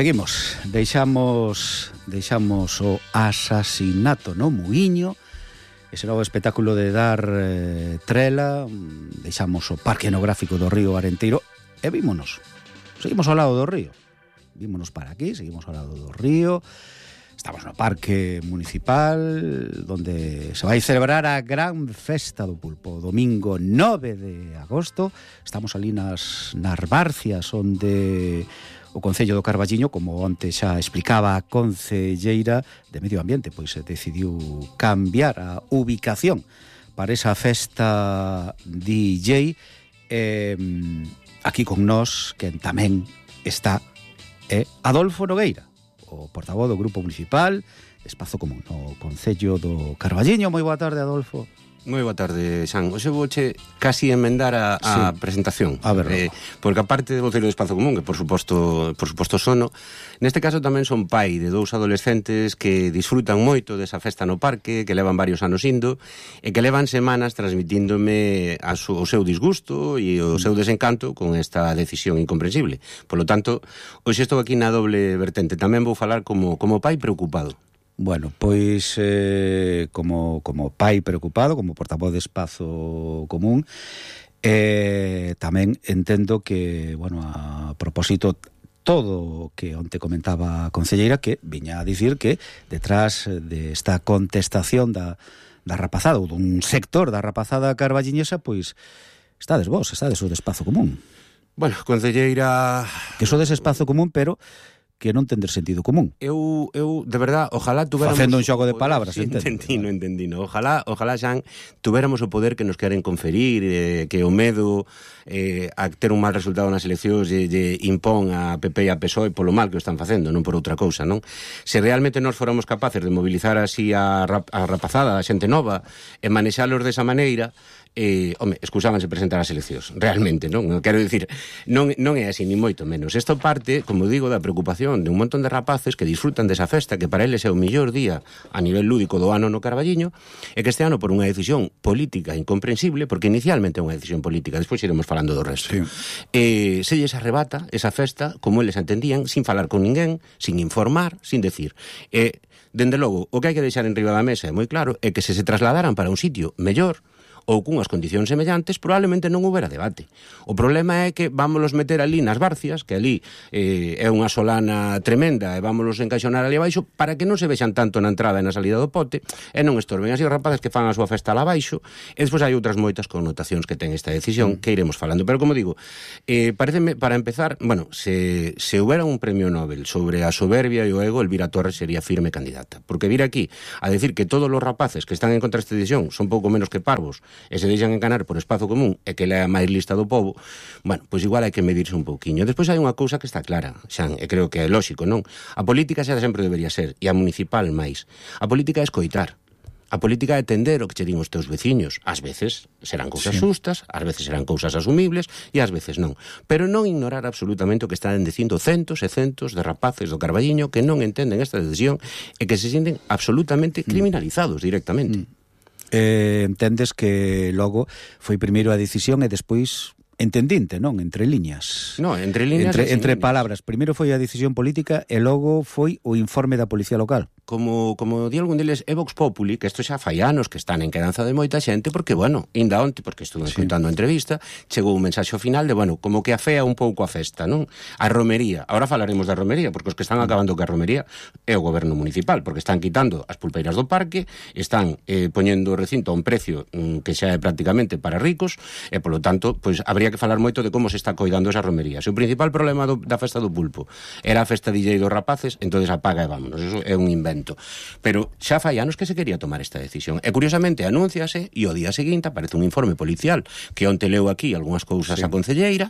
seguimos. Deixamos o asasinato no Muiño, ese novo espectáculo de dar trela, deixamos o Parque Etnográfico do Río Arenteiro e seguimos ao lado do río. Vímonos para aquí, seguimos ao lado do río. Estamos no Parque Municipal, donde se vai celebrar a gran festa do pulpo, domingo 9 de agosto. Estamos ali nas Barcias, onde o Concello do Carballiño, como antes xa explicaba a concelleira de Medio Ambiente, pois decidiu cambiar a ubicación para esa festa DJ. Aquí con nós, quen tamén está, é Adolfo Nogueira, o portavoz do Grupo Municipal Espazo Común no Concello do Carballiño. Moi boa tarde, Adolfo. Moi boa tarde, Xan. Hoxe vouche casi enmendar a presentación. A ver, porque aparte de voceiro do Espazo Común, que por suposto sono, neste caso tamén son pai de dous adolescentes que disfrutan moito desa festa no parque, que levan varios anos indo, e que levan semanas transmitíndome o seu disgusto e o seu desencanto con esta decisión incomprensible. Por lo tanto, hoxe estou aquí na doble vertente. Tamén vou falar como pai preocupado. Bueno, pois como pai preocupado, como portavoz de Espazo Común, tamén entendo que, bueno, a propósito todo o que onte comentaba a concelleira, que viña a dicir que detrás desta contestación da rapazada, ou dun sector da rapazada carballiñesa, pois estades o de Espazo Común. Bueno, concelleira... Que sodes Espazo Común, pero que non tender sentido común. Eu de verdad, ojalá tuveramos... Facendo un xogo de palabras, entendino. Ojalá, Xan, tuveramos o poder que nos queren conferir, que o medo a ter un mal resultado nas eleccións lle impón a PP e a PSOE polo mal que o están facendo, non por outra cousa, non? Se realmente nós fóramos capaces de mobilizar así a rapazada, a xente nova, e manexalos desa maneira... excusábanse presentar as eleccións, realmente, non? Quero dicir, non é así, ni moito menos. Isto parte, como digo, da preocupación de un montón de rapaces que disfrutan desa festa, que para eles é o mellor día a nivel lúdico do ano no Carballiño, e que este ano, por unha decisión política incomprensible, porque inicialmente é unha decisión política, despois iremos falando do resto, sí. Se lles arrebata esa festa, como eles entendían, sin falar con ninguén, sin informar, sin decir. Dende logo, o que hai que deixar en riba da mesa é moi claro, é que se trasladaran para un sitio mellor, ou cunhas condicións semellantes, probablemente non houbera debate. O problema é que vámonos meter ali nas Barcias, que ali é unha solana tremenda, e vámonos encaixonar ali abaixo para que non se vexan tanto na entrada e na salida do pote, e non estorben así os rapaces que fan a súa festa lá abaixo, e despois hai outras moitas connotacións que ten esta decisión que iremos falando. Pero, como digo, pareceme, para empezar, bueno, se houbera un premio Nobel sobre a soberbia e o ego, Elvira Torres sería firme candidata. Porque vir aquí a decir que todos os rapaces que están en contra desta decisión son pouco menos que parvos, e se deixan enganar por Espazo Común e que le é a máis lista do povo, bueno, pois igual hai que medirse un pouquiño. Despois hai unha cousa que está clara, Xan, e creo que é lóxico, non? A política xa sempre debería ser, e a municipal máis. A política é escoitar. A política é entender o que che din os teus veciños. Ás veces serán cousas xustas, ás veces serán cousas asumibles, e ás veces non. Pero non ignorar absolutamente o que están dicindo centos e centos de rapaces do Carballiño que non entenden esta decisión e que se sienten absolutamente criminalizados directamente. Entendes que logo foi primeiro a decisión e despois entendinte, non? Entre liñas. No, entre liñas entre palabras. Primeiro foi a decisión política e logo foi o informe da Policía Local. Como di algún deles, é Vox Populi, que isto xa fai anos que están en quedanza de moita xente, porque, bueno, inda onte, porque estuve escoitando a entrevista, chegou un mensaxe ao final de, bueno, como que afea un pouco a festa, non? A romería. Ahora falaremos da romería, porque os que están acabando que a romería é o goberno municipal, porque están quitando as pulpeiras do parque, están poñendo o recinto a un precio que xa é prácticamente para ricos, e, polo tanto, pois, habría que falar moito de como se está coidando esa romería. Se o principal problema da festa do pulpo era a festa DJ dos rapaces, entonces apaga e vámonos. Eso é un invento. Pero xa fai anos que se quería tomar esta decisión. E curiosamente anúnciase e ao día seguinte aparece un informe policial que onte leu aquí algunhas cousas a concelleira,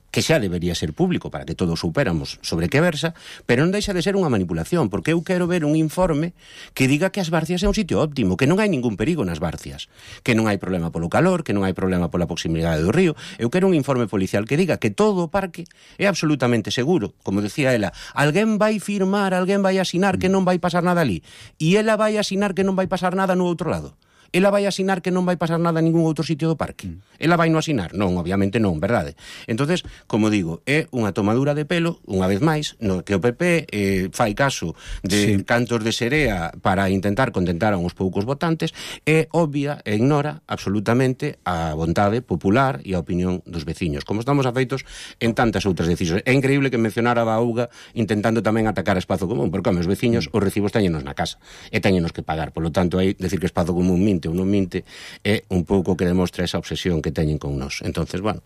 que xa debería ser público para que todos superamos sobre que versa, pero non deixa de ser unha manipulación, porque eu quero ver un informe que diga que as Barcias é un sitio óptimo, que non hai ningún perigo nas Barcias, que non hai problema polo calor, que non hai problema pola proximidade do río. Eu quero un informe policial que diga que todo o parque é absolutamente seguro. Como decía ela, alguén vai firmar, alguén vai asinar que non vai pasar nada ali, e ela vai asinar que non vai pasar nada no outro lado. ela vai asinar que non vai pasar nada en ningún outro sitio do parque. Ela vai non asinar? Non, obviamente non, verdade? Entonces, como digo, é unha tomadura de pelo, unha vez máis, no que o PP fai caso de cantos de serea para intentar contentar a uns poucos votantes, é obvia e ignora absolutamente a vontade popular e a opinión dos veciños, como estamos afeitos en tantas outras decisións. É increíble que mencionara a auga intentando tamén atacar a espazo común, porque os veciños os recibos teñenos na casa e teñenos que pagar, polo tanto aí decir que espazo común minte ou non minte é un pouco que demostra esa obsesión que teñen con nós. Entonces, bueno,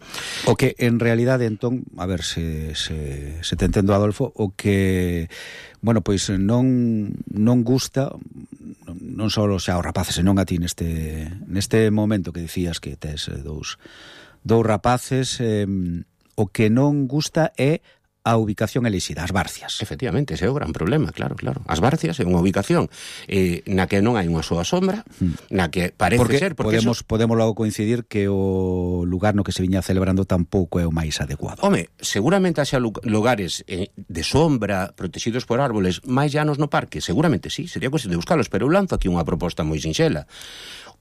o que en realidade, entón, a ver se te entendo, Adolfo, o que, bueno, pois non gusta non só xa os rapaces, senón a ti neste momento que dicías que tes dous rapaces, o que non gusta é a ubicación elixida, as Barcias. Efectivamente, ese é o gran problema, claro. As Barcias é unha ubicación na que non hai unha soa sombra, na que parece ser... Podemos logo coincidir que o lugar no que se viña celebrando tampouco é o máis adecuado. Home, seguramente haxa lugares de sombra, protegidos por árboles, máis llanos no parque, seguramente sí, sería cuestión de buscalos, pero eu lanzo aquí unha proposta moi sinxela.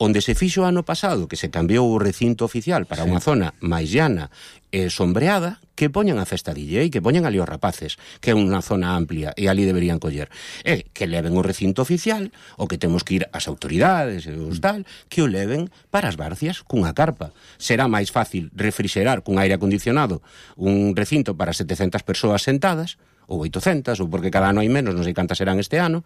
Onde se fixo ano pasado que se cambiou o recinto oficial para unha zona máis llana e sombreada, que poñan a festa DJ, que poñan ali os rapaces, que é unha zona amplia e ali deberían coller. E que leven o recinto oficial, o que temos que ir ás autoridades e os tal, que o leven para as Barcias cunha carpa. Será máis fácil refrixerar cun aire acondicionado un recinto para 700 persoas sentadas, ou 800, ou porque cada ano hai menos, non sei cantas serán este ano,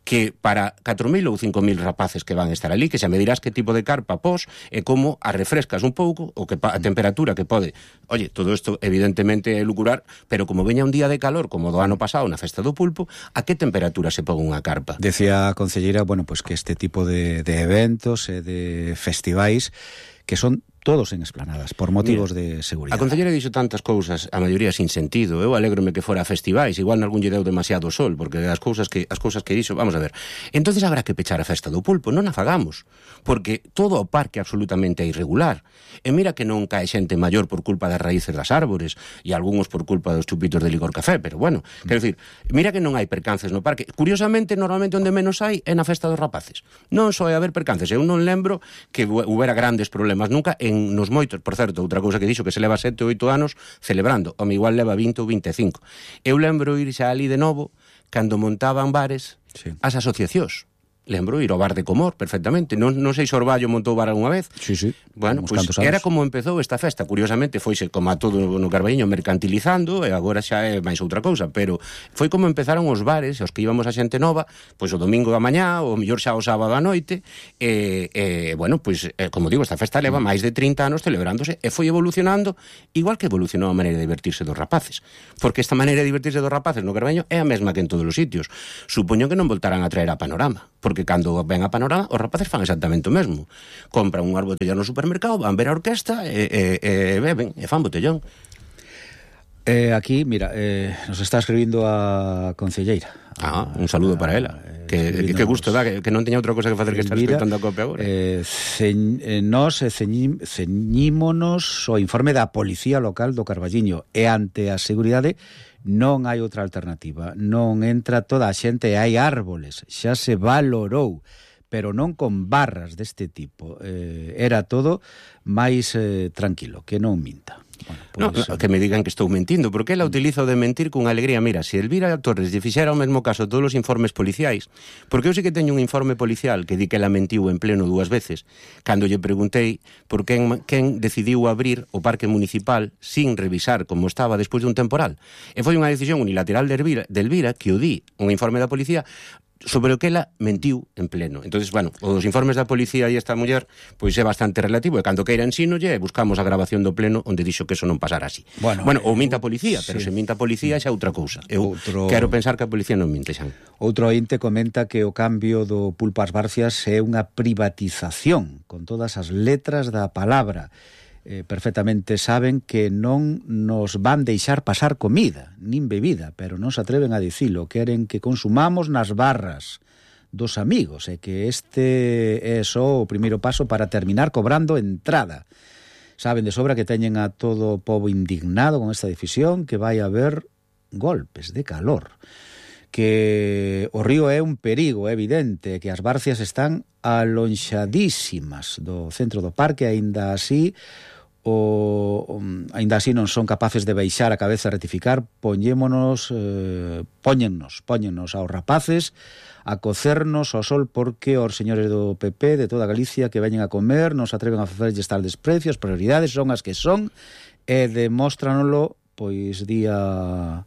que para 4.000 ou 5.000 rapaces que van estar ali, que xa me dirás que tipo de carpa pos e como a refrescas un pouco, ou que a temperatura que pode. Oye, todo isto evidentemente é lucurar, pero como veña un día de calor, como do ano pasado na festa do pulpo, a que temperatura se pon unha carpa? Decía a concelleira, bueno, pues que este tipo de eventos e de festivais que son todos en esplanadas, por motivos de seguridade. A concelleira dixo tantas cousas, a maioría sin sentido. Eu alégrome que fora a festivais, igual nalgún lle deu demasiado sol, porque as cousas que dixo, vamos a ver. Entonces habrá que pechar a festa do pulpo, non a fagamos, porque todo o parque absolutamente é irregular. E mira que non cae xente maior por culpa das raíces das árbores, e algúns por culpa dos chupitos de licor café, pero bueno, quero dicir, mira que non hai percances no parque. Curiosamente, normalmente onde menos hai é na festa dos rapaces. Non só é haber percances, eu non lembro que houbera grandes problemas nunca nos moitos, por certo, outra cousa que dixo que se leva 7 ou 8 anos celebrando, o igual leva 20 ou 25. Eu lembro ir xa ali de novo cando montaban bares as asociacións. Lembro ir ao bar de Comor, perfectamente. Non sei se Orballo montou bar alguna vez. Sí. Bueno, pois era como empezou esta festa. Curiosamente, foise como a todo no Carballiño mercantilizando, e agora xa é máis outra cousa, pero foi como empezaron os bares, os que íbamos a xente nova, pois o domingo da mañá, ou mellor xa o sábado a noite, bueno, pois, como digo, esta festa leva máis de 30 anos celebrándose, e foi evolucionando, igual que evolucionou a maneira de divertirse dos rapaces. Porque esta maneira de divertirse dos rapaces no Carballiño é a mesma que en todos os sitios. Supoño que non voltarán a traer a Panorama, porque cando ven a Panorama, os rapaces fan exactamente o mesmo. Compran unhas botellas no supermercado, van ver a orquesta e beben, e fan botellón. Aquí, mira, nos está escribindo a concelleira. Un saludo para ela. Que gusto dá, que non teña outra cosa que facer que estar escoitando a copia agora. Nos ceñímonos o informe da Policía Local do Carballiño, e ante a seguridade non hai outra alternativa. Non entra toda a xente, hai árboles, xa se valorou, pero non con barras deste tipo. Era todo máis tranquilo, que non minta. Bueno, pues, que me digan que estou mentindo, porque ela utiliza o de mentir con alegría. Mira, se Elvira Torres lle fixera o mesmo caso a todos os informes policiais, porque eu sei que teño un informe policial que di que ela mentiu en pleno 2 veces, cando lle preguntei por quen decidiu abrir o parque municipal sin revisar como estaba despois dun temporal. E foi unha decisión unilateral de Elvira que o di un informe da policía sobre o que ela mentiu en pleno. Entonces, bueno, os informes da policía e esta muller pois é bastante relativo, e cando queira ensínolle e buscamos a grabación do pleno onde dixo que eso non pasara así. Bueno, ou minta a policía, pero se minta a policía xa é outra cousa. Eu quero pensar que a policía non minte, xa. Outro ointe comenta que o cambio do pulpo ás Barcias é unha privatización, con todas as letras da palabra. Perfectamente saben que non nos van deixar pasar comida, nin bebida, pero non se atreven a dicilo. Queren que consumamos nas barras dos amigos, e que este é só o primeiro paso para terminar cobrando entrada. Saben de sobra que teñen a todo o pobo indignado con esta decisión, que vai haber golpes de calor. que o río é un perigo, é evidente, que as barcias están alonxadísimas do centro do parque, aínda así non son capaces de baixar a cabeza e rectificar. Póñennos aos rapaces a cocernos ao sol, porque os señores do PP de toda Galicia que veñen a comer non se atreven a facerlles tal desprecio. As prioridades son as que son e demóstranolo pois día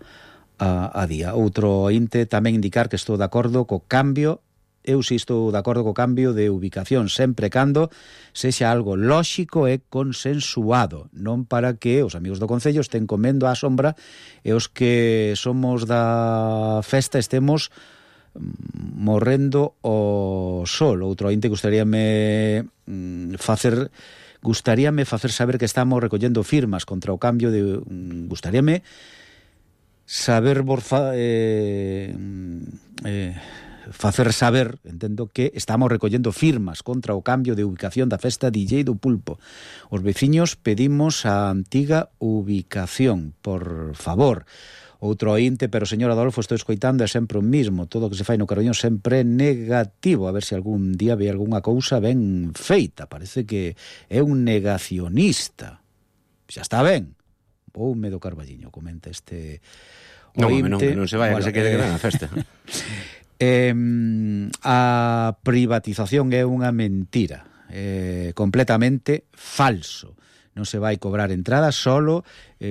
a día. Outro ointe tamén indicar que estou de acordo co cambio. Eu si estou de acordo co cambio de ubicación, sempre cando sexa algo lóxico e consensuado, non para que os amigos do Concello estén comendo á sombra e os que somos da festa estemos morrendo ao sol. Outro ointe gustaríame facer saber que estamos recollendo firmas contra o cambio de... Gustaríame facer saber, entendo, que estamos recollendo firmas contra o cambio de ubicación da festa DJ do Pulpo. Os veciños pedimos a antiga ubicación, por favor. Outro ointe, pero señor Adolfo, estou escoitando, é sempre o mismo, todo o que se fai no Carballiño sempre é negativo, a ver se algún día ve algunha cousa ben feita. Parece que é un negacionista. Xa está ben. Voume do Carballiño, comenta este ointe. Que non se vaya, que se quede na festa. A privatización é unha mentira, completamente falso. Non se vai cobrar entrada, solo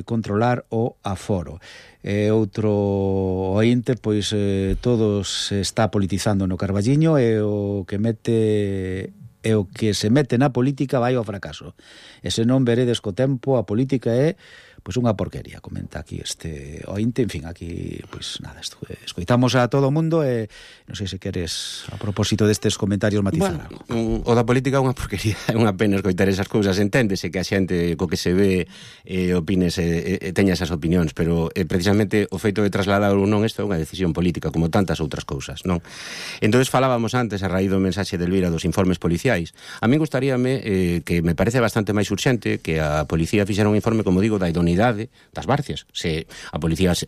controlar o aforo. Outro ointe, pois todo se está politizando no Carballiño e o que se mete na política vai ao fracaso. E se non veredes co tempo, a política é pois unha porquería, comenta aquí este ointe. En fin, aquí, pois nada, escoitamos a todo o mundo e non sei se queres, a propósito destes comentarios, matizar algo. O da política é unha porquería, é unha pena escoitar esas cousas, enténdese que a xente co que se ve opines teña esas opinións, pero precisamente o feito de trasladar ou non isto é unha decisión política, como tantas outras cousas, non? Entonces falábamos antes, a raíz do mensaxe de Elvira dos informes policiais. A min gustaríame, que me parece bastante máis urxente, que a policía fixera un informe, como digo, da idoneidade das barcias. Se a policía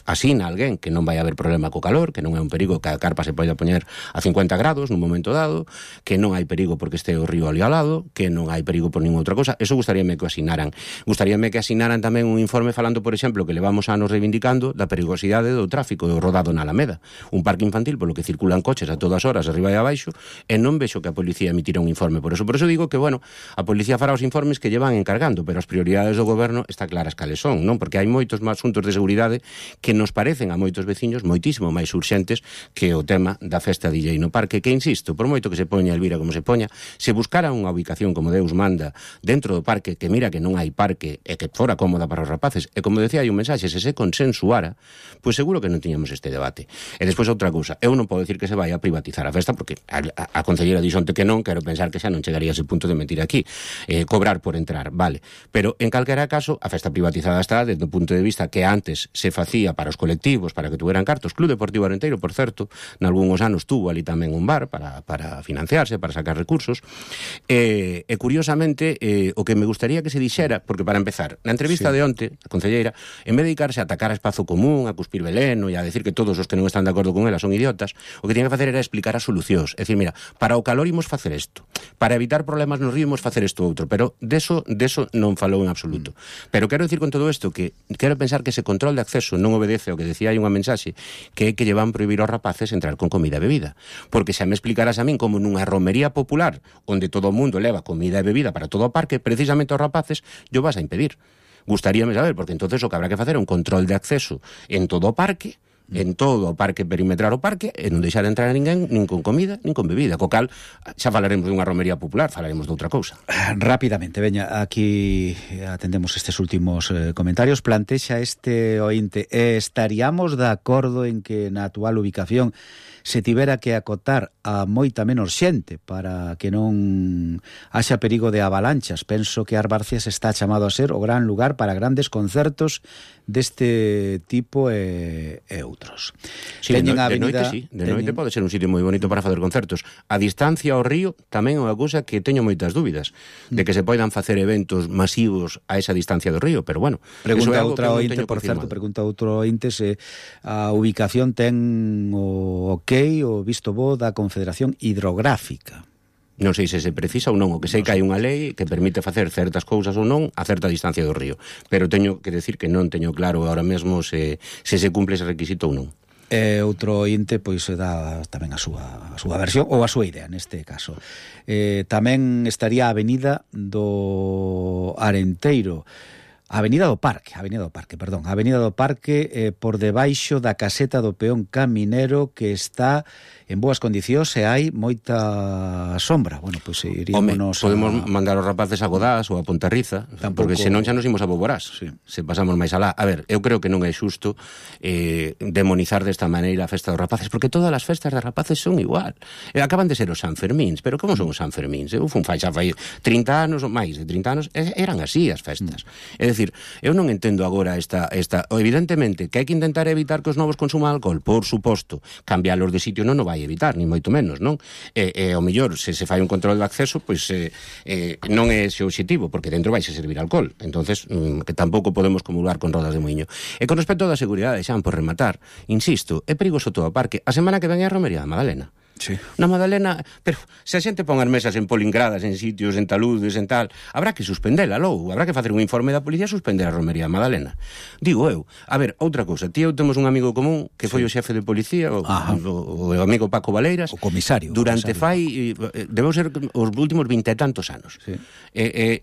asina a alguén que non vai haber problema co calor, que non é un perigo que a carpa se poida poñer a 50 grados nun momento dado, que non hai perigo porque este o río ali ao lado, que non hai perigo por ninguna outra cosa, eso gustaríame que o asinaran. Gustaríame que asinaran tamén un informe falando, por exemplo, que levamos anos reivindicando da perigosidade do tráfico do rodado na Alameda, un parque infantil polo que circulan coches a todas horas arriba e abaixo, e non vexo que a policía emitira un informe por eso digo que, bueno, a policía fará os informes que llevan encargando, pero as prioridades do goberno está claras cales son, non? Porque hai moitos máis asuntos de seguridade que nos parecen a moitos veciños moitísimo máis urxentes que o tema da festa DJ no parque, que, insisto, por moito que se poña Elvira como se poña, se buscara unha ubicación como Deus manda dentro do parque, que mira que non hai parque e que fora cómoda para os rapaces, e como decía hai un mensaxe, se consensuara, pois seguro que non tiñamos este debate. E despois outra cousa, eu non podo decir que se vai a privatizar a festa, porque a concelleira dixonte que non, quero pensar que xa non chegaría a ese punto de mentir aquí, cobrar por entrar, vale, pero en calquera caso a festa privatizada está desde o punto de vista que antes se facía para os colectivos, para que tuveran cartos. Club Deportivo Arenteiro, por certo, nalgúns anos tuvo ali tamén un bar para financiarse, para sacar recursos, e curiosamente o que me gustaría que se dixera, porque para empezar, na entrevista de onte, a concelleira, en vez de dedicarse a atacar a Espazo Común, a cuspir veleno e a decir que todos os que non están de acordo con ela son idiotas, o que tiña que facer era explicar as solucións, é dicir, mira, para o calor imos facer isto, para evitar problemas no río imos facer isto outro, pero deso non falou en absoluto. Pero quero dicir con todo isto que quero pensar que ese control de acceso non obedece ao que decía aí unha mensaxe, que é que llevan prohibir aos rapaces entrar con comida e bebida, porque xa me explicarás a min como nunha romería popular onde todo o mundo leva comida e bebida para todo o parque, precisamente aos rapaces yo vas a impedir. Gustaríame saber, porque entonces o que habrá que facer é un control de acceso en todo o parque, en todo o parque, perimetrar o parque, e non deixar entrar a ninguén nin con comida, nin con bebida, co cal xa falaremos dunha romería popular, falaremos de outra cousa. Rápidamente, veña, aquí atendemos estes últimos comentarios. Plantexa este ointe: estaríamos de acordo en que na actual ubicación se tivera que acotar a moita menos xente para que non haxa perigo de avalanchas. Penso que As Barcias está chamado a ser o gran lugar para grandes concertos deste tipo e outros. outros. Sí, de noite sí, de noite pode ser un sitio moi bonito para facer concertos. A distancia ao río tamén é unha cousa que teño moitas dúbidas de que se poidan facer eventos masivos a esa distancia do río, pero bueno, pregunta outra ointe, por certo, pregunta outro ointe se a ubicación ten o ok, o visto bo da Confederación Hidrográfica. Non sei se precisa ou non, o que sei que hai unha lei que permite facer certas cousas ou non a certa distancia do río, pero teño que decir que non teño claro ahora mesmo se cumple ese requisito ou non. Outro ointe pois dá tamén a súa versión ou a súa idea neste caso. Tamén estaría a Avenida do Arenteiro, Avenida do Parque, por debaixo da caseta do peón caminero, que está en boas condicións e hai moita sombra. Bueno, pois irímonos podemos mandar os rapaces a Godás ou a Pontarriza, porque senón xa nos imos a Boborás, sí. Se pasamos máis alá. A ver, eu creo que non é xusto demonizar desta maneira a festa dos rapaces, porque todas as festas dos rapaces son igual. Acaban de ser os Sanfermíns, pero como son os Sanfermíns? Eu fun xa fai 30 anos ou máis de 30 anos, eran así as festas. É dicir, eu non entendo agora evidentemente que hai que intentar evitar que os novos consuman alcohol, por suposto. Cambialos de sitio non o vai evitar, ni moito menos, non? Ao mellor, se fai un control de acceso, pois non é ese o obxectivo, porque dentro vais a servir alcohol. Entonces, que tampouco podemos comulgar con rodas de moinho. E con respecto da seguridade, xa por rematar, insisto, é perigoso todo o parque. A semana que ven é a Romería da Madalena. Sí. Na Madalena, pero se a xente pon as mesas en polingradas, en sitios, en taludes, en tal, habrá que suspendela logo, habrá que facer un informe da policía e suspender a Romería da Madalena. Digo eu, a ver, outra cousa, ti eu temos un amigo común que foi o xefe de policía, o amigo Paco Valeiras, o comisario. Durante debeu ser os últimos 20 e tantos anos. Sí.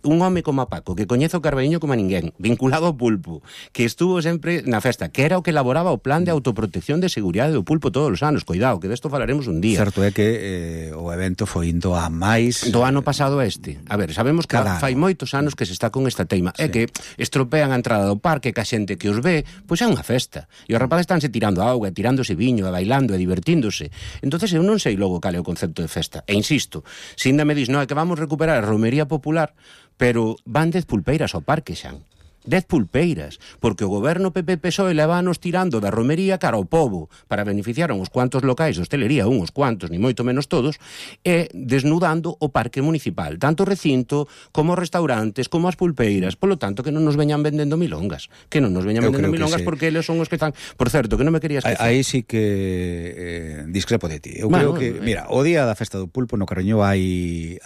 Un home como a Paco, que coñece o Carballiño como a ninguén, vinculado ao pulpo, que estuvo sempre na festa, que era o que elaboraba o plan de autoprotección de seguridade do pulpo todos os anos. Cuidado, que desto falaremos un día. Certo é que o evento foi indo a máis do ano pasado este. A ver, sabemos que fai moitos anos que se está con esta teima. É que estropean a entrada do parque, que a xente que os ve, pois é unha festa. E os rapaces estánse tirando auga, tirándose viño, bailando e divertíndose. Entonces eu non sei logo cal é o concepto de festa. E insisto, se ainda me dis, non, é que vamos recuperar a romería popular, pero van 10 pulpeiras ao parque xa. 10 pulpeiras, porque o goberno PP-PSOE levános tirando da romería cara ao pobo para beneficiar a uns cuantos locais de hostelería, uns cuantos, ni moito menos todos, e desnudando o parque municipal, tanto o recinto, como os restaurantes, como as pulpeiras. Polo tanto, que non nos veñan vendendo milongas, porque eles son os que están... Por certo, que non me querías esquecer. Aí sí que discrepo de ti. Eu creo que, mira, o día da festa do pulpo no Carballiño hai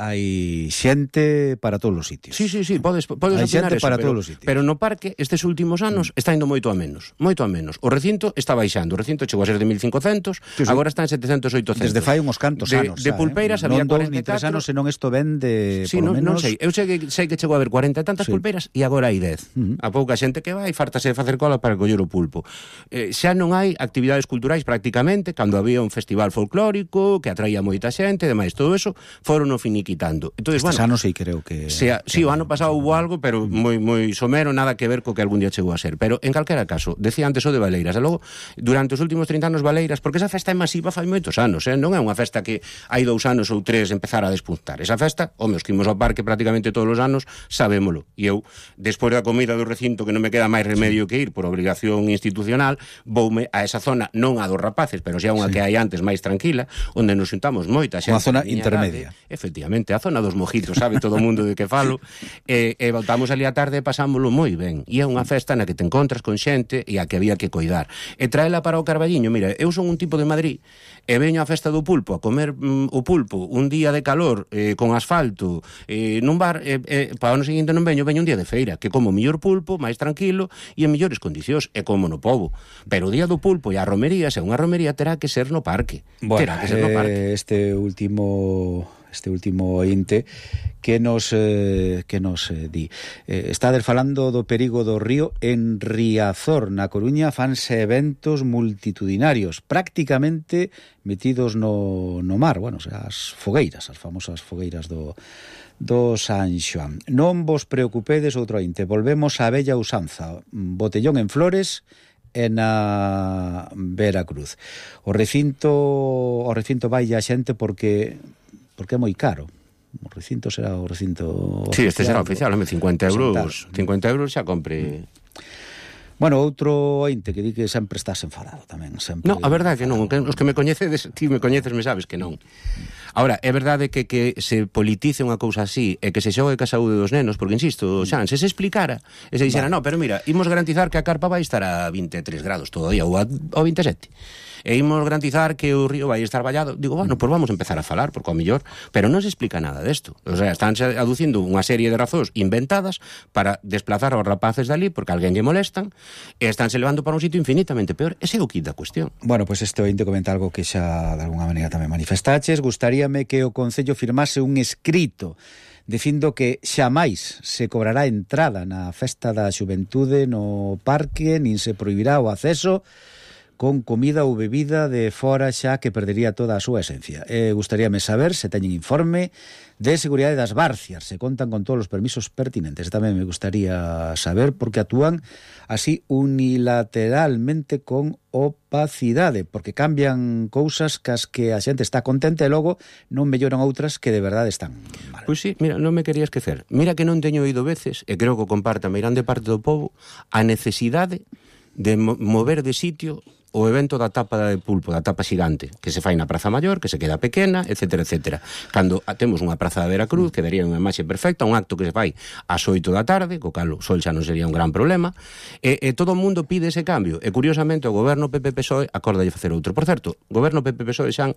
xente para todos os sitios. Sí, podes opinar xente eso, para todos os sitios. Pero no parque, estes últimos anos, está indo moito a menos. O recinto está baixando. O recinto chegou a ser de 1.500, agora está en 700, 800. Desde fai uns cantos anos. De pulpeiras había 44. Non 2 ni 3 anos, senón isto ven de, por lo menos... Non sei. Eu sei que chegou a haber 40 e tantas pulpeiras e agora hai 10. A pouca xente que vai, fartase de facer cola para coller o pulpo. Xa non hai actividades culturais prácticamente, cando había un festival folclórico que atraía moita xente, e demais, todo eso, foron o finiquitando. Entonces, estes anos sí creo que... Sí, o ano pasado hubo algo, pero moi somero, nada que ver co que algún día chegou a ser. Pero, en calquera caso, decía antes o de Valeiras, e logo, durante os últimos 30 anos Valeiras, porque esa festa é masiva fai moitos anos, non é unha festa que hai 2 anos ou 3 empezar a despuntar. Esa festa, os que imos ao parque prácticamente todos os anos, sabémolo. E eu, despois da comida do recinto, que non me queda máis remedio que ir por obrigación institucional, voume a esa zona, non a dos rapaces, pero xa unha que hai antes máis tranquila, onde nos xuntamos moita xente. Unha zona intermedia. Efectivamente, a zona dos mojitos, sabe todo o mundo de que falo, e voltamos ali a tarde e pasámoslo moi ben. E é unha festa na que te encontras con xente e a que había que coidar. E traela para o Carballiño, mira, eu son un tipo de Madrid e veño á festa do pulpo a comer o pulpo un día de calor con asfalto nun bar, para o ano seguinte non veño un día de feira, que como mellor pulpo, máis tranquilo e en mellores condicións, e como no pobo. Pero o día do pulpo e a romería, se unha romería terá que ser no parque. Bueno, terá que ser no parque. Este último ointe que nos di. Estades falando do perigo do río. En Riazor, na Coruña, fanse eventos multitudinarios, prácticamente metidos no mar. Bueno, as fogueiras, as famosas fogueiras do San Xoán. Non vos preocupedes, outro ointe, volvemos á bella usanza, botellón en Flores e na Veracruz. O recinto vai a xente porque é moi caro. O recinto será o recinto oficial. Sí, este será oficial, 50 euros xa compre. Bueno, outro ointe que di que sempre estás enfadado tamén, sempre. No, a verdade que non, os que me coñecedes, ti me coñeces, me sabes que non. Ahora, é verdade que se politice unha cousa así e que se xogue ca saúde dos nenos, porque insisto, Xan, se explicara, e se dixera, no, pero mira, imos garantizar que a carpa vai estar a 23 grados todo o día ou a 27. E imos garantizar que o río vai estar vallado. Digo, bueno, pois vamos a empezar a falar, porque ao mellor, pero non se explica nada desto. O sea, están aducindo unha serie de razóns inventadas para desplazar aos rapaces dali porque alguén lle molestan e estánse levando para un sitio infinitamente peor. Ese é o kit da cuestión. Bueno, pois este ointe comenta algo que xa de alguna maneira tamén manifestaches. Gustaríame que o Concello firmase un escrito dicindo que xamais se cobrará entrada na festa da xuventude no parque, nin se prohibirá o acceso con comida ou bebida de fora, xa que perdería toda a súa esencia. Gustaríame saber se teñen informe de seguridade das barcias, se contan con todos os permisos pertinentes. Tamén me gustaría saber por que actúan así unilateralmente con opacidade, porque cambian cousas cas que a xente está contente e logo non melloran outras que de verdade están mal. Pois sí, mira, non me quería esquecer. Mira que non teño oído veces, e creo que o comparta a meirande parte do povo, a necesidade de mover de sitio o evento da tapa de pulpo, da tapa xigante, que se fai na Praza Maior, que se queda pequena, etcétera, etcétera. Cando temos unha praza de Veracruz, que daría unha imaxe perfecta, un acto que se fai ás 8 da tarde, co cal o sol xa non sería un gran problema, e todo o mundo pide ese cambio, e curiosamente o goberno PP-PSOE acordalle facer outro. Por certo, goberno PP-PSOE, Xan,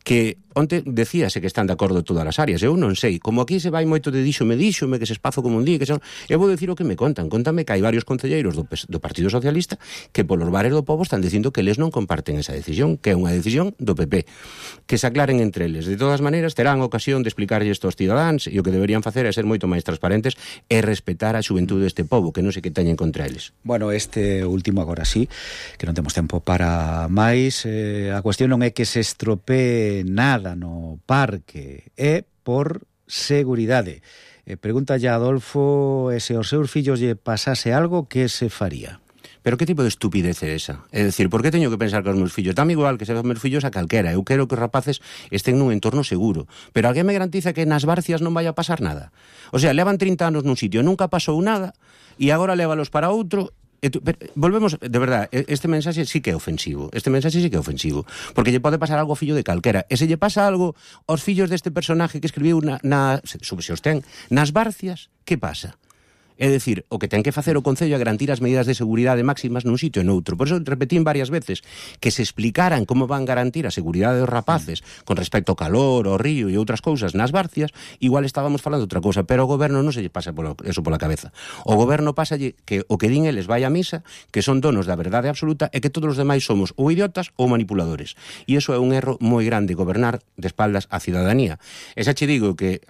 que onte decíase que están de acordo todas as áreas, eu non sei, como aquí se vai moito de díxome, que se espazo como un dí, que son, eu vou dicir o que me contan, contame que hai varios concelleiros do Partido Socialista que polos bares do povo están dicindo que eles non comparten esa decisión, que é unha decisión do PP, que se aclaren entre eles. De todas maneiras, terán ocasión de explicarlle isto aos cidadáns, e o que deberían facer é ser moito máis transparentes e respetar a xuventude deste povo, que non sei que teñen contra eles. Bueno, este último agora sí, que non temos tempo para máis. A cuestión non é que se estropee nada no parque, é por seguridade. Pregúntalle a Adolfo se aos seus fillos lle pasase algo, que se faría? Pero que tipo de estupidez é esa? É dicir, por que teño que pensar que os meus fillos? Dame igual que se os meus fillos a calquera. Eu quero que os rapaces estén nun entorno seguro. Pero alguén me garantiza que nas barcias non vai a pasar nada? O sea, levan 30 anos nun sitio, nunca pasou nada, e agora lévalos para outro. Volvemos, de verdade, este mensaxe sí que é ofensivo. Porque lle pode pasar algo ao fillo de calquera. E se lle pasa algo aos fillos deste personaje que escribiu se os ten, nas barcias, que pasa? É dicir, o que ten que facer o Concello é garantir as medidas de seguridade máximas nun sitio e noutro. Por eso repetín varias veces que se explicaran como van garantir a seguridade dos rapaces con respecto ao calor, ao río e outras cousas nas barcias, igual estábamos falando outra cousa, pero ao goberno non se lle pasa eso pola cabeza. O goberno pásalle que o que din eles vai a misa, que son donos da verdade absoluta e que todos os demais somos ou idiotas ou manipuladores. E iso é un erro moi grande, gobernar de espaldas á cidadanía. E xa che digo que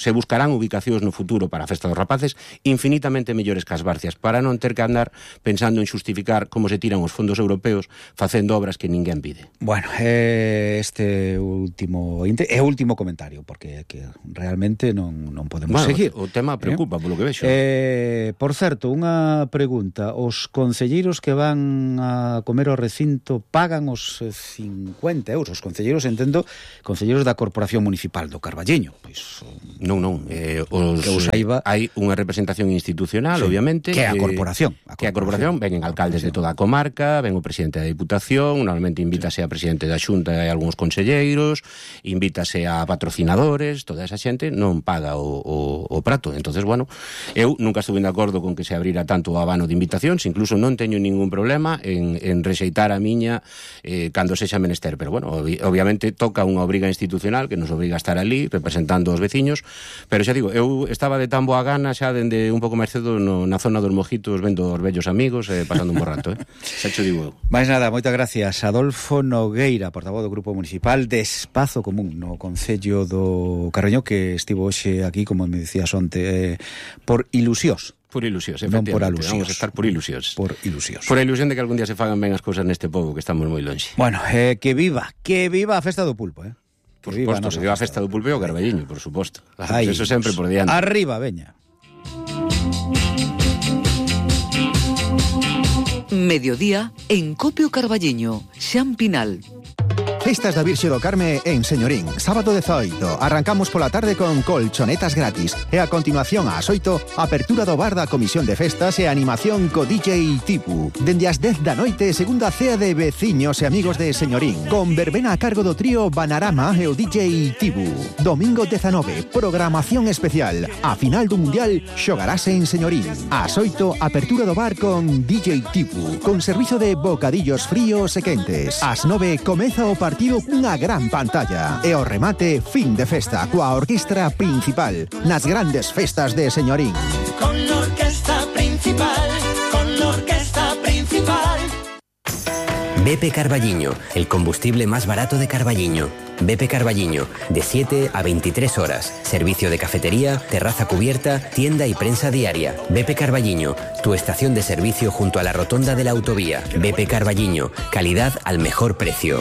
se buscarán ubicacións no futuro para a festa dos rapaces infinitamente mellores que as barcias, para non ter que andar pensando en xustificar como se tiran os fondos europeos facendo obras que ninguén pide. Bueno, este último é o último comentario, porque que realmente non podemos seguir. O tema preocupa, polo que vexo. Por certo, unha pregunta. Os concelleiros que van a comer ao recinto pagan os 50 euros? Os concelleiros, entendo, concelleiros da Corporación Municipal do Carballiño. Pois, non. Hai unha representación institucional, sí, obviamente. Que é a corporación. Que a corporación, venen alcaldes de toda a comarca, ven o presidente da Diputación, normalmente invítase a presidente da Xunta e algúns conselleiros, invítase a patrocinadores, toda esa xente non paga o prato. Entonces, bueno, eu nunca estuve de acordo con que se abrira tanto o abano de invitacións, incluso non teño ningún problema en rexeitar a miña cando sexa menester, pero bueno, obviamente toca unha obriga institucional que nos obriga a estar ali representando os veciños, pero xa digo, eu estaba de tan boa gana xa dende un pouco máis cedo na zona dos mojitos, vendo os vellos amigos, pasando un bo rato, xa cho digo eu. Mais nada, moitas gracias. Adolfo Nogueira, portavoz do Grupo Municipal de Espazo Común no Concello do Carballiño, que estivo hoxe aquí, como me decías onte, por ilusións. Por ilusións, efectivamente. Non por alusións. Vamos a estar por ilusións. Por ilusións. Por a ilusión de que algún día se fagan ben as cousas neste pobo, que estamos moi longe. Bueno, que viva a festa do pulpo, Por suposto, que viva a festa do pulpo e o Carballiño, por suposto. Eso sempre por diante. Arriba, veña. Mediodía en Copio Carballiño, Xan Pinal. Festas da Virxe do Carme en Señorín, sábado 18. Arrancamos pola tarde con colchonetas gratis e a continuación ás 8, apertura do bar da Comisión de Festas e animación co DJ Tipu. Dende as 10 da noite, segunda cea de veciños e amigos de Señorín, con verbena a cargo do trío Banarama e o DJ Tipu. Domingo 19, programación especial. A final do Mundial xogarase en Señorín. Ás 8, apertura do bar con DJ Tipu, con servizo de bocadillos fríos e quentes. Ás 9, comeza o partido cunha gran pantalla. E o remate, fin de festa, coa orquestra principal, nas grandes festas de Señorín. Con la orquesta principal, con la orquesta principal. BP Carballiño, el combustible más barato de Carballiño. BP Carballiño, de 7 a 23 horas. Servicio de cafetería, terraza cubierta, tienda y prensa diaria. BP Carballiño, tu estación de servicio junto a la rotonda de la autovía. BP Carballiño, calidad al mejor precio.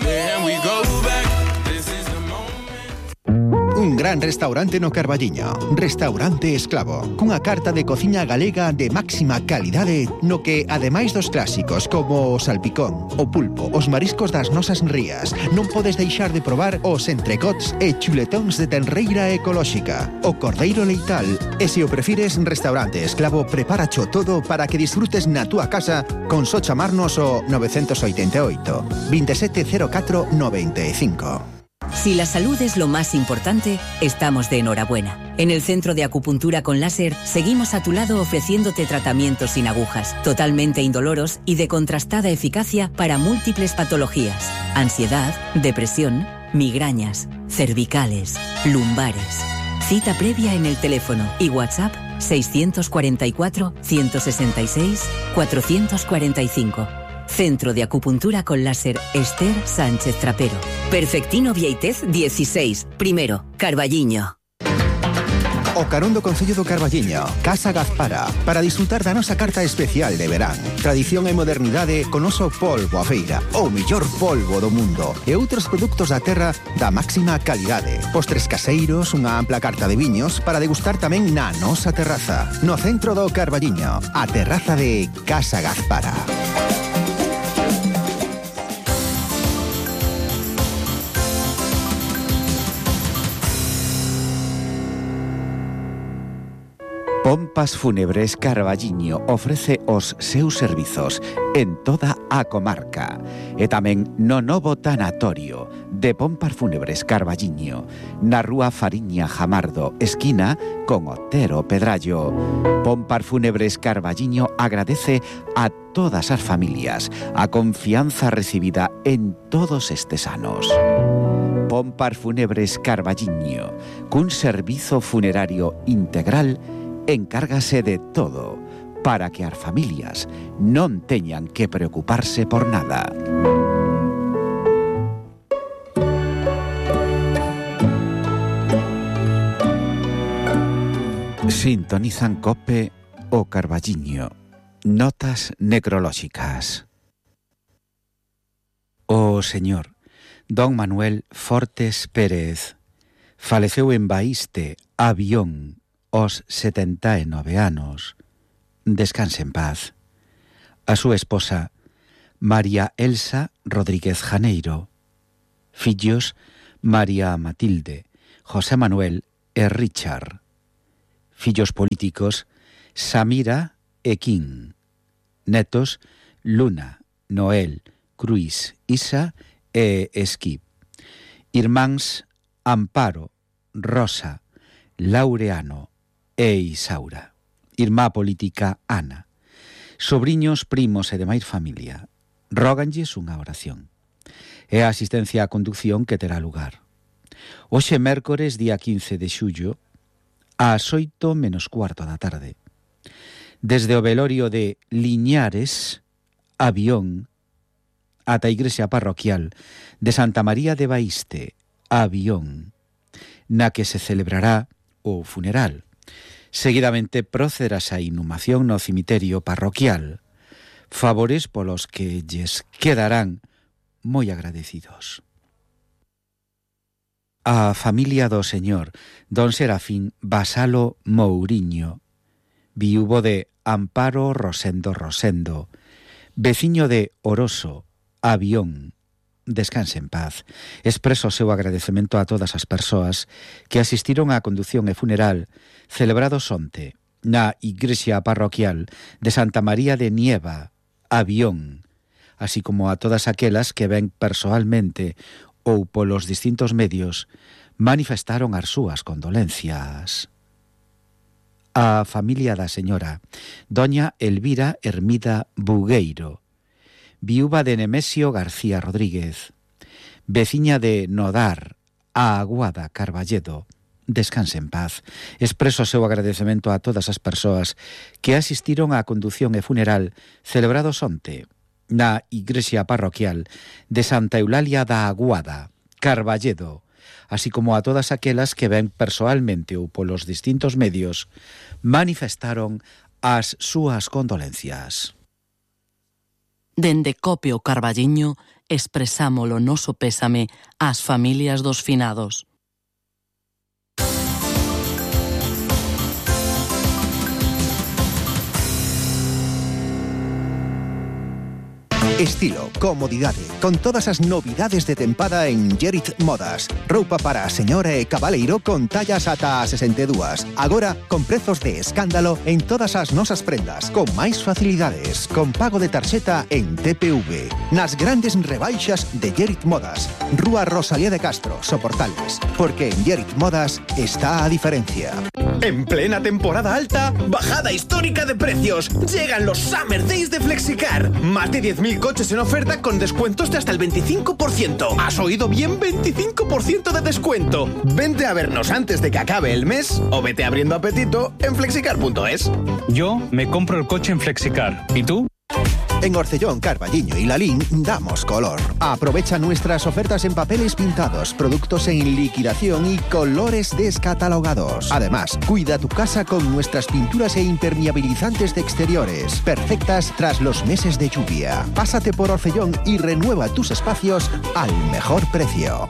Un gran restaurante no Carballiño, Restaurante Esclavo, cunha carta de cociña galega de máxima calidade, no que, ademais dos clásicos como o salpicón, o pulpo, os mariscos das nosas rías, non podes deixar de probar os entrecots e chuletóns de tenreira ecolóxica, o cordeiro leital, e se o prefires, Restaurante Esclavo preparacho todo para que disfrutes na túa casa con só chamarnos o 988 2704 95. Si la salud es lo más importante, estamos de enhorabuena. En el Centro de Acupuntura con Láser seguimos a tu lado ofreciéndote tratamientos sin agujas, totalmente indoloros y de contrastada eficacia para múltiples patologías: ansiedad, depresión, migrañas, cervicales, lumbares. Cita previa en el teléfono y WhatsApp 644 166 445. Centro de Acupuntura con Láser Esther Sánchez Trapero. Perfectino Vieitez 16, primero, Carballiño. O carón do Concello do Carballiño, Casa Gazpara, para disfrutar da nosa carta especial de verán. Tradición e modernidade con oso polvo a feira, o mellor polvo do mundo, e outros produtos da terra da máxima calidade. Postres caseiros, unha ampla carta de viños para degustar tamén na nosa terraza. No centro do Carballiño, a terraza de Casa Gazpara. Pompas Fúnebres Carballiño ofrece os seus servizos en toda a comarca e tamén no novo tanatorio de Pompas Fúnebres Carballiño na rúa Fariña Jamardo, esquina con Otero Pedrallo. Pompas Fúnebres Carballiño agradece a todas as familias a confianza recibida en todos estes anos. Pompas Fúnebres Carballiño, cun servizo funerario integral, encárgase de todo para que as familias non teñan que preocuparse por nada. Sintonizan COPE o Carballiño. Notas necrolóxicas. O señor Don Manuel Fortes Pérez faleceu en Baíste, Avión, aos 79 anos. Descanse en paz. A súa esposa, María Elsa Rodríguez Janeiro. Fillos, María Matilde, José Manuel e Richard. Fillos políticos, Samira e Quín. Netos, Luna, Noel, Cruís, Isa e Esquí. Irmáns, Amparo, Rosa, Laureano e Isaura. Irmá política, Ana. Sobriños, primos e demais familia. Róganlles unha oración. É a asistencia á conducción que terá lugar. Hoxe mércores, día 15 de xullo, ás 8 menos cuarto da tarde. Desde o velorio de Liñares, Avión, ata a igrexa parroquial de Santa María de Baíste, Avión, na que se celebrará o funeral. Seguidamente procederás a inhumación no cemiterio parroquial, favores polos que lles quedarán moi agradecidos. A familia do señor Don Serafín Basalo Mouriño, viúvo de Amparo Rosendo Rosendo, veciño de Oroso, Avión, descanse en paz. Expreso o seu agradecemento a todas as persoas que asistiron á condución e funeral celebrados onte na igrexa parroquial de Santa María de Nieva, Avión, así como a todas aquelas que ven persoalmente ou polos distintos medios manifestaron as súas condolencias. A familia da señora doña Elvira Hermida Bugueiro, viúva de Nemesio García Rodríguez, veciña de Nodar, a Aguada Carballedo, descanse en paz. Expreso o seu agradecemento a todas as persoas que asistiron á condución e funeral celebrados onte na igrexa parroquial de Santa Eulalia da Aguada, Carballedo, así como a todas aquelas que ven persoalmente ou polos distintos medios manifestaron as súas condolencias. Dende Copio Carballiño expresamos o noso pésame ás familias dos finados. Estilo, comodidade, con todas as novidades de tempada en Gerit Modas. Roupa para a señora e cabaleiro con tallas ata a 62. Agora, con prezos de escándalo en todas as nosas prendas, con máis facilidades, con pago de tarxeta en TPV. Nas grandes rebaixas de Gerit Modas. Rúa Rosalía de Castro, Soportales. Porque en Gerit Modas está a diferencia. En plena temporada alta, bajada histórica de precios. Llegan los Summer Days de Flexicar. Más de 10.000 coches en oferta con descuentos de hasta el 25%. ¿Has oído bien? 25% de descuento. Vente a vernos antes de que acabe el mes o vete abriendo apetito en flexicar.es. Yo me compro el coche en Flexicar. ¿Y tú? En Orcellón, Carballiño y Lalín damos color. Aprovecha nuestras ofertas en papeles pintados, productos en liquidación y colores descatalogados. Además, cuida tu casa con nuestras pinturas e impermeabilizantes de exteriores, perfectas tras los meses de lluvia. Pásate por Orcellón y renueva tus espacios al mejor precio.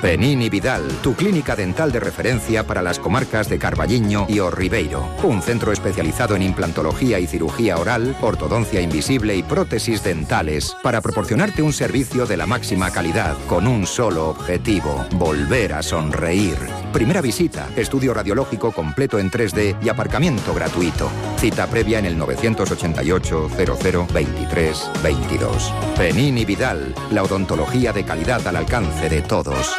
Penini Vidal, tu clínica dental de referencia para las comarcas de Carballiño y O Ribeiro. Un centro especializado en implantología y cirugía oral, ortodoncia invisible y prótesis dentales para proporcionarte un servicio de la máxima calidad con un solo objetivo: volver a sonreír. Primera visita, estudio radiológico completo en 3D y aparcamiento gratuito. Cita previa en el 988 00 23 22. Penini Vidal, la odontología de calidad al alcance de todos.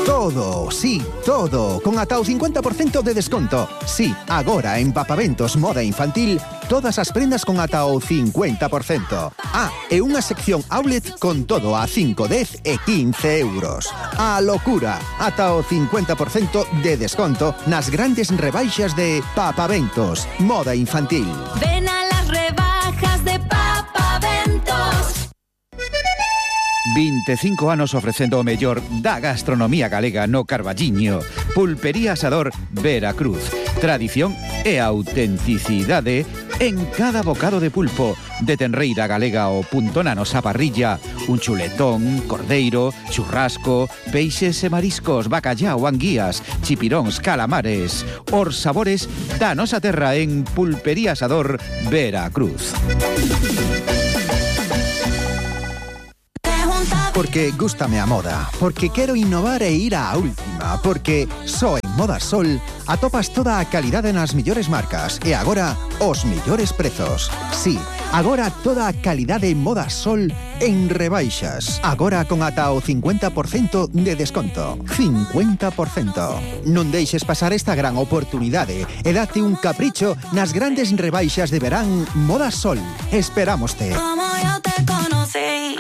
Todo, sí, todo, con ata o 50% de desconto. Sí, agora en Papaventos Moda Infantil, todas as prendas con ata o 50%. Ah, e unha sección outlet con todo a 5, 10 e 15 euros. A locura, ata o 50% de desconto nas grandes rebaixas de Papaventos Moda Infantil. Ven a las rebajas de Papaventos. 25 anos ofrecendo o mellor da gastronomía galega no Carballiño. Pulpería Asador Veracruz. Tradición e autenticidade en cada bocado de pulpo. De tenreira galega o punto na nosa parrilla. Un chuletón, cordeiro, churrasco, peixes e mariscos, bacallao, anguías, chipiróns, calamares. Os sabores da nosa terra en Pulpería Asador Veracruz. Porque gústame a moda, porque quero innovar e ir á última, porque só en Moda Sol atopas toda a calidade nas mellores marcas e agora os mellores prezos. Sí, agora toda a calidade Moda Sol en rebaixas. Agora con ata o 50% de desconto. 50%. Non deixes pasar esta gran oportunidade e date un capricho nas grandes rebaixas de verán Moda Sol. Esperámoste. Como yo te conocí.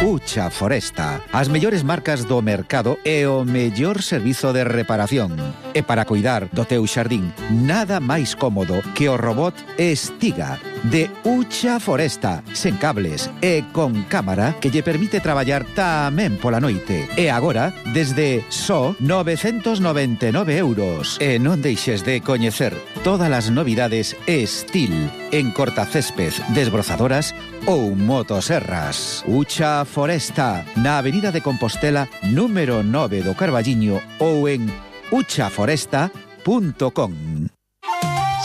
Ucha Foresta, as mellores marcas do mercado e o mellor servizo de reparación. E para cuidar do teu xardín, nada máis cómodo que o robot Estiga de Ucha Foresta, sen cables e con cámara que lle permite traballar tamén pola noite. E agora, desde só 999 euros. E non deixes de coñecer todas as novidades Estil en cortacésped, desbrozadoras ou motoserras. Ucha Foresta, na Avenida de Compostela, número 9 do Carballiño ou en uchaforesta.com.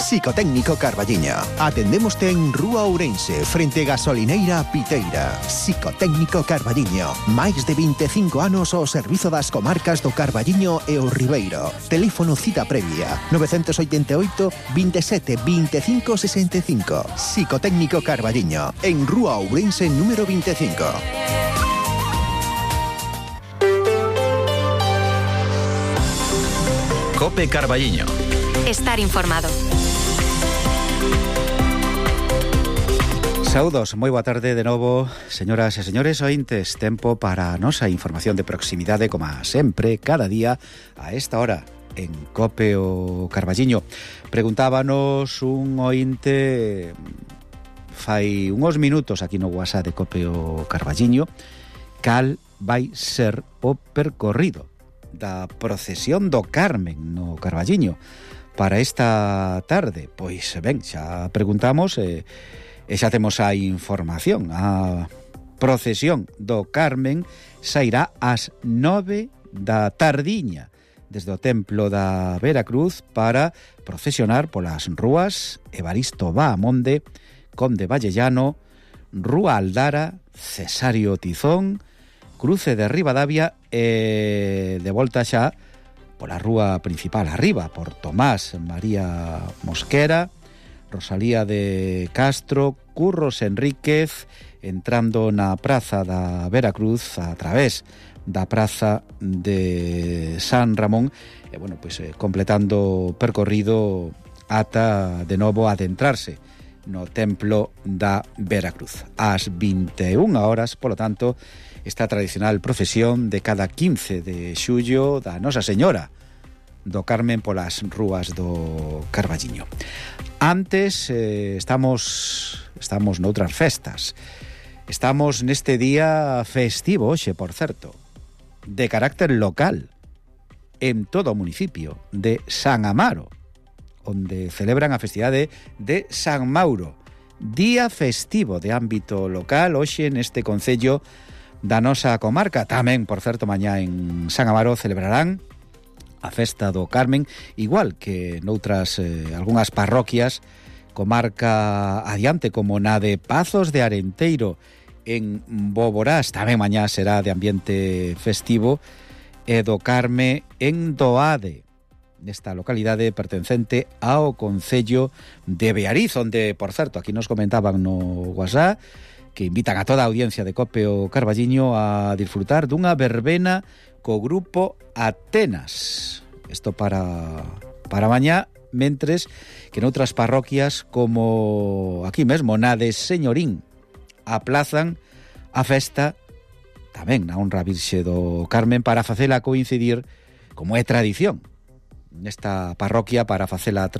Psicotécnico Carballiño. Atendémoste en Rúa Ourense, frente Gasolineira Piteira. Psicotécnico Carballiño. Máis de 25 anos ao servizo das comarcas do Carballiño e o Ribeiro. Teléfono cita previa 988 27 25 65. Psicotécnico Carballiño, en Rúa Ourense número 25. Cope Carballiño. Estar informado. Saúdos, moi boa tarde de novo, señoras e señores ointes. Tempo para a nosa información de proximidade, como sempre, cada día a esta hora en Cope o Carballiño. Preguntábanos un ointe fai uns minutos aquí no WhatsApp de Cope o Carballiño cal vai ser o percorrido da procesión do Carmen no Carballiño para esta tarde. Pois ben, xa preguntamos e xa temos a información. A procesión do Carmen sairá ás 9 da tardiña desde o templo da Veracruz para procesionar polas rúas Evaristo Bahamonde, Conde Vallellano, Rúa Aldara, Cesario Tizón, Cruce de Ribadavia e de volta xa pola rúa principal arriba, por Tomás María Mosquera, Rosalía de Castro, Curros Enríquez, entrando na Praza da Veracruz a través da Praza de San Ramón e, bueno, pois completando o percorrido ata de novo adentrarse no templo da Veracruz. Ás 21 horas, polo tanto, esta tradicional procesión de cada 15 de xullo da Nosa Señora do Carmen polas rúas do Carballiño. Antes estamos noutras festas. Estamos neste día festivo hoxe, por certo, de carácter local en todo o municipio de San Amaro, onde celebran a festividade de San Mauro. Día festivo de ámbito local hoxe neste concello da nosa comarca. Tamén, por certo, mañá en San Amaro celebrarán a festa do Carmen, igual que noutras algunhas parroquias, comarca adiante, como na de Pazos de Arenteiro en Boborás. Tamén mañá será de ambiente festivo, e do Carme en Doade, nesta localidade pertencente ao concello de Beariz, onde, por certo, aquí nos comentaban no WhatsApp que invitan a toda a audiencia de Cope o Carballiño a disfrutar dunha verbena co grupo Atenas. Isto para mañá, mentres que noutras parroquias, como aquí mesmo na de Señorín, aplazan a festa tamén na honra Virxe do Carmen para facela coincidir, como é tradición nesta parroquia, para facela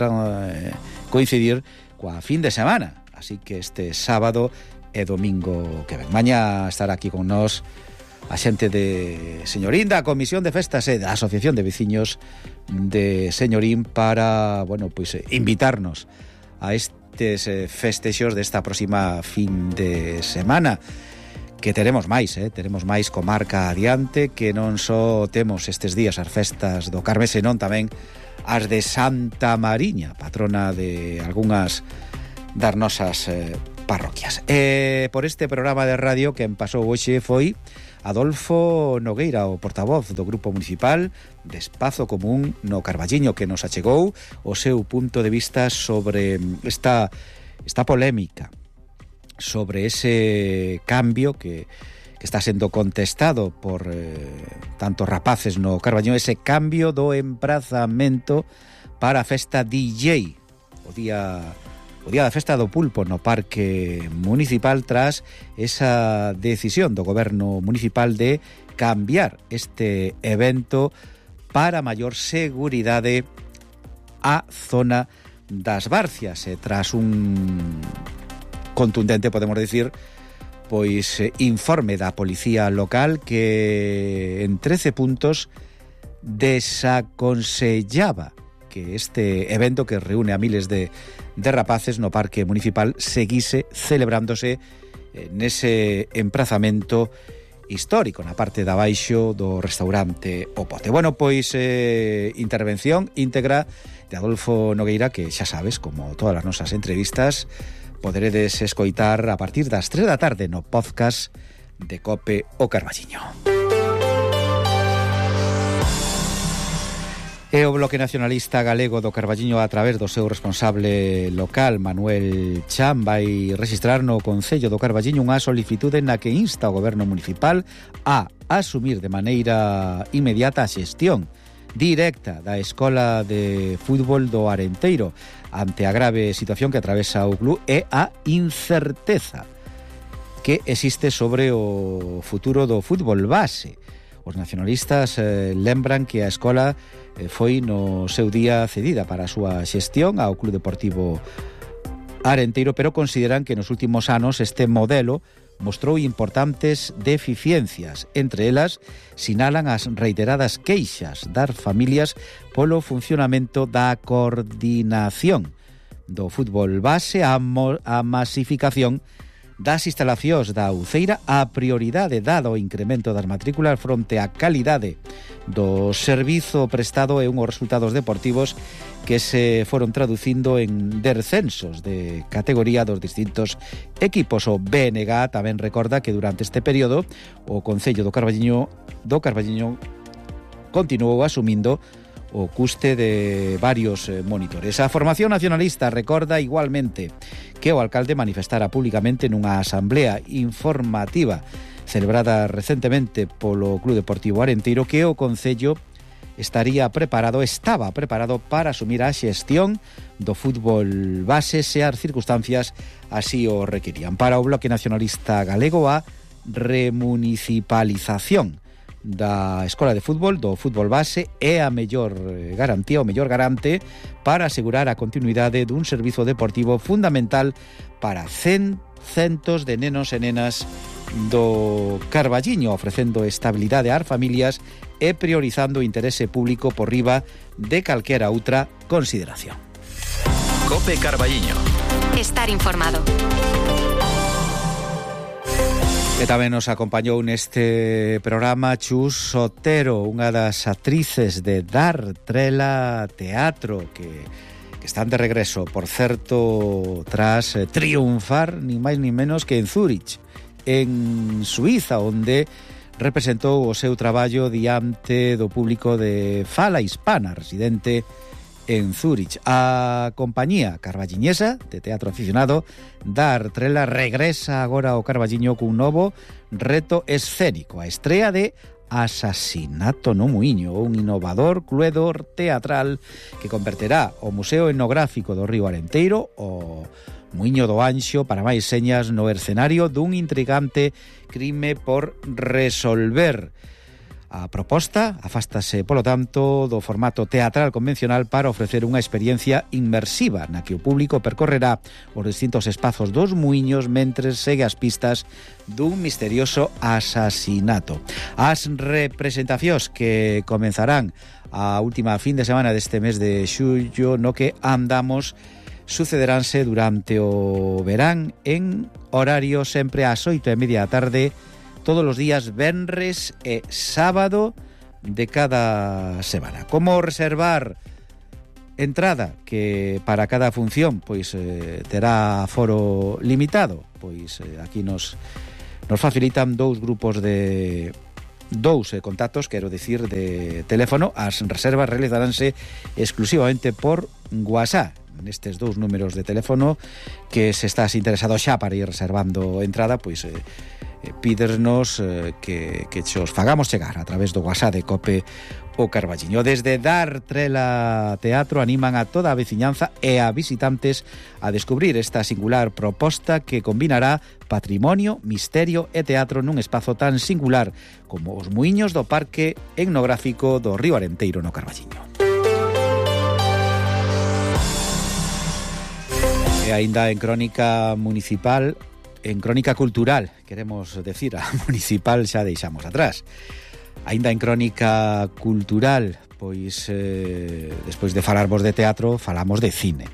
coincidir coa fin de semana. Así que este sábado e domingo que ven. Mañá estará aquí con nós a xente de Señorín, da Comisión de Festas e da Asociación de Veciños de Señorín para, bueno, pois invitarnos a estes festexos desta próxima fin de semana, que teremos máis comarca adiante, que non só temos estes días as festas do Carme, senón tamén as de Santa Mariña, patrona de algunhas das nosas parroquias. Por este programa de radio que pasou hoxe foi Adolfo Nogueira, o portavoz do Grupo Municipal de Espazo Común no Carballiño, que nos achegou o seu punto de vista sobre esta polémica, sobre ese cambio que está sendo contestado por tantos rapaces no Carballiño, ese cambio do emprazamento para a festa DJ, o día da festa do pulpo no Parque Municipal, tras esa decisión do Goberno Municipal de cambiar este evento para maior seguridade a zona das Barcias, tras un contundente, podemos decir, pois informe da Policía Local que en 13 puntos desaconsellaba que este evento, que reúne a miles de rapaces no Parque Municipal, seguise celebrándose nese emprazamento histórico na parte de abaixo do restaurante O Pote. Bueno, pois intervención íntegra de Adolfo Nogueira, que xa sabes, como todas as nosas entrevistas, poderedes escoitar a partir das 3 da tarde no podcast de COPE O Carballiño. E o Bloque Nacionalista Galego do Carballiño, a través do seu responsable local, Manuel Chan, vai registrar no Concello do Carballiño unha solicitude na que insta o Goberno Municipal a asumir de maneira inmediata a xestión directa da Escola de Fútbol do Arenteiro ante a grave situación que atravesa o club e a incerteza que existe sobre o futuro do fútbol base. Os nacionalistas lembran que a escola foi no seu día cedida para a súa xestión ao Club Deportivo Arenteiro, pero consideran que nos últimos anos este modelo mostrou importantes deficiencias. Entre elas, sinalan as reiteradas queixas das familias polo funcionamento da coordinación do fútbol base, a masificación das instalacións da Uceira, a prioridade dado o incremento das matrículas fronte á calidade do servizo prestado e unhos resultados deportivos que se foron traducindo en descensos de categoría dos distintos equipos. O BNG tamén recorda que durante este período o Concello do Carballiño continuou asumindo o custe de varios monitores. A formación nacionalista recorda igualmente que o alcalde manifestara públicamente nunha asamblea informativa celebrada recentemente polo Club Deportivo Arenteiro que o Concello estaba preparado para asumir a xestión do fútbol base se as circunstancias así o requerían. Para o Bloque Nacionalista Galego, a remunicipalización da Escola de Fútbol, do fútbol base, é a mellor garantía, o mellor garante para asegurar a continuidade dun servizo deportivo fundamental para centos de nenos e nenas do Carballiño, ofrecendo estabilidade ás familias e priorizando o interese público por riba de calquera outra consideración. COPE Carballiño. Estar informado. E tamén nos acompañou neste programa Chus Otero, unha das actrices de Dar Trela Teatro, que están de regreso, por certo, tras triunfar, ni máis ni menos que en Zúrich, en Suiza, onde representou o seu traballo diante do público de fala hispana residente en Zúrich. A compañía carballiñesa de teatro aficionado Dar Trela regresa agora ao Carballiño cun novo reto escénico, a estrea de Asasinato no Muiño, un innovador cluedo teatral que converterá o Museo Etnográfico do Río Arenteiro, o Muiño do Anxo, para máis señas, no escenario dun intrigante crime por resolver. A proposta afástase, polo tanto, do formato teatral convencional para ofrecer unha experiencia inmersiva na que o público percorrerá os distintos espazos dos muiños mentres segue as pistas dun misterioso asasinato. As representacións que comenzarán a última fin de semana deste mes de xullo no que andamos sucederánse durante o verán en horario sempre ás 8:30 da tarde, todos os días venres e sábado de cada semana. Como reservar entrada que para cada función pois terá aforo limitado? Pois aquí nos facilitan dous grupos de contactos, quero dicir, de teléfono. As reservas realizaránse exclusivamente por WhatsApp, nestes dous números de teléfono, que se estás interesado xa para ir reservando entrada, pois pídernos que os fagamos chegar a través do WhatsApp de COPE O Carballiño. Desde Dar Trela Teatro animan a toda a veciñanza e a visitantes a descubrir esta singular proposta que combinará patrimonio, misterio e teatro nun espazo tan singular como os muiños do Parque Etnográfico do Río Arenteiro no Carballiño. E aínda en crónica municipal, en crónica cultural, queremos decir, a municipal xa deixamos atrás. Aínda en crónica cultural, pois despois de falarvos de teatro, falamos de cine.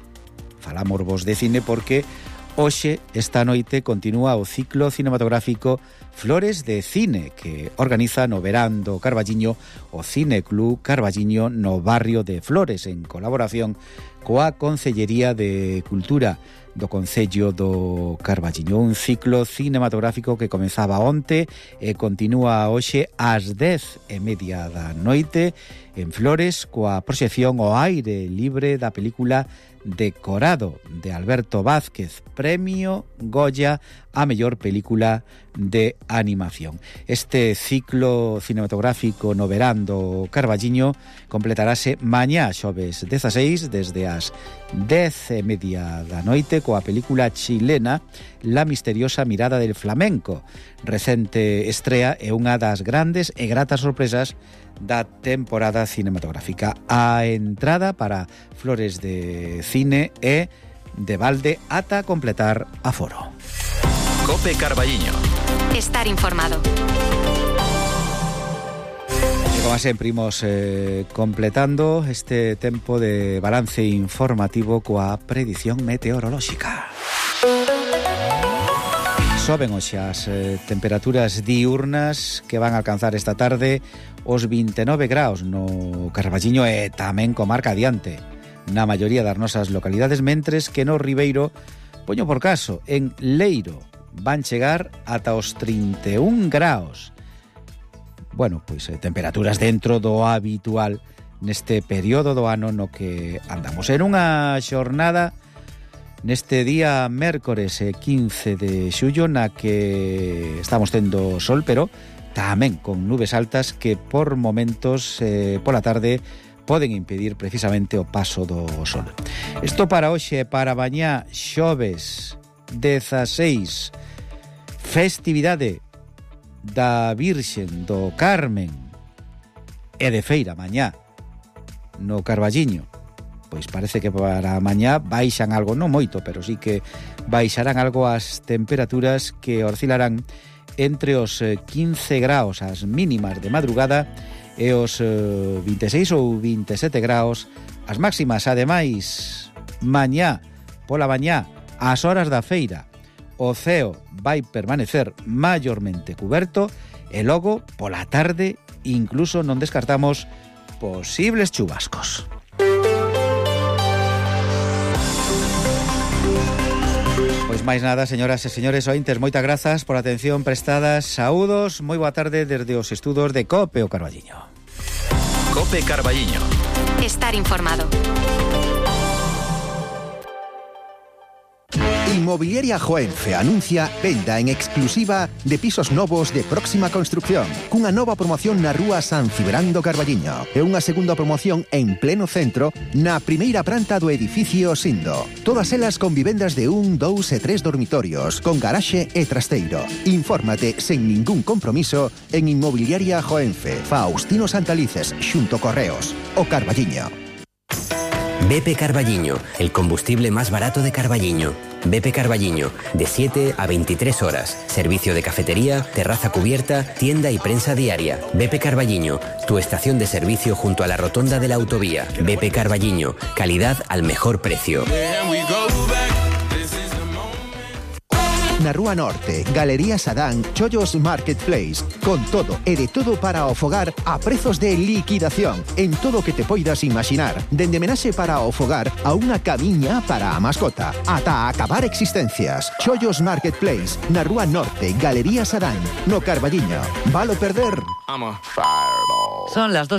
Falámosvos de cine porque Hoxe, esta noite, continúa o ciclo cinematográfico Flores de Cine, que organiza no verán do Carballiño o Cine Club Carballiño no barrio de Flores, en colaboración coa Concellería de Cultura do Concello do Carballiño. Un ciclo cinematográfico que comezaba onte e continúa hoxe ás 10:30 da noite en Flores coa proxección ao aire libre da película Decorado, de Alberto Vázquez, premio Goya a mellor película de animación. Este ciclo cinematográfico no verán do Carballiño completarase mañá xoves 16 desde as 10:30 da noite coa película chilena La misteriosa mirada del flamenco. Recente estrea e unha das grandes e gratas sorpresas da temporada cinematográfica. A entrada para Flores de Cine é de balde ata completar aforo. Cope Carballiño. Estar informado. E como sempre imos completando este tempo de balance informativo coa predición meteorolóxica. Soben hoxe as temperaturas diurnas que van a alcanzar esta tarde os 29 graus no Carballiño e tamén comarca adiante na maioría das nosas localidades, mentres que no Ribeiro, poño por caso, en Leiro van chegar ata os 31 graus. Bueno, pois temperaturas dentro do habitual neste período do ano no que andamos. En unha xornada neste día mércores 15 de xullo na que estamos tendo sol, pero tamén con nubes altas que por momentos pola tarde poden impedir precisamente o paso do sol. Isto para hoxe, para mañá xoves 16, festividade da Virxen do Carmen e de feira mañá no Carballiño. Pois parece que para mañá baixan algo, non moito, pero sí que baixarán algo as temperaturas que oscilarán entre os 15 graus as mínimas de madrugada e os 26 ou 27 graus as máximas. Ademais, mañá, pola mañá, ás horas da feira, o ceo vai permanecer maiormente cuberto e logo, pola tarde, incluso non descartamos posibles chubascos. Pois máis nada, señoras e señores ointes, moitas grazas por a atención prestada. Saúdos, moi boa tarde desde os estudos de Cope o Carballiño. Cope Carballiño. Estar informado. Inmobiliaria Joenfe anuncia venda en exclusiva de pisos novos de próxima construcción, cunha nova promoción na rúa San Cibrán do Carballiño e unha segunda promoción en pleno centro na primeira planta do edificio Sindo. Todas elas con vivendas de 1, 2 e 3 dormitorios, con garaxe e trasteiro. Infórmate sen ningún compromiso en Inmobiliaria Joenfe, Faustino Santalices, xunto Correos, o Carballiño. BP Carballiño, el combustible más barato de Carballiño. BP Carballiño, de 7 a 23 horas. Servicio de cafetería, terraza cubierta, tienda y prensa diaria. BP Carballiño, tu estación de servicio junto a la rotonda de la autovía. BP Carballiño, calidad al mejor precio. Na Rúa Norte, Galería Sadán, Chollos Marketplace, con todo e de todo para o fogar a prezos de liquidación en todo o que te poidas imaginar, dende menaxe para o fogar a unha camiña para a mascota, ata acabar existencias. Chollos Marketplace, na Rúa Norte, Galería Sadán, no Carballiño. Valo perder? Son las 2.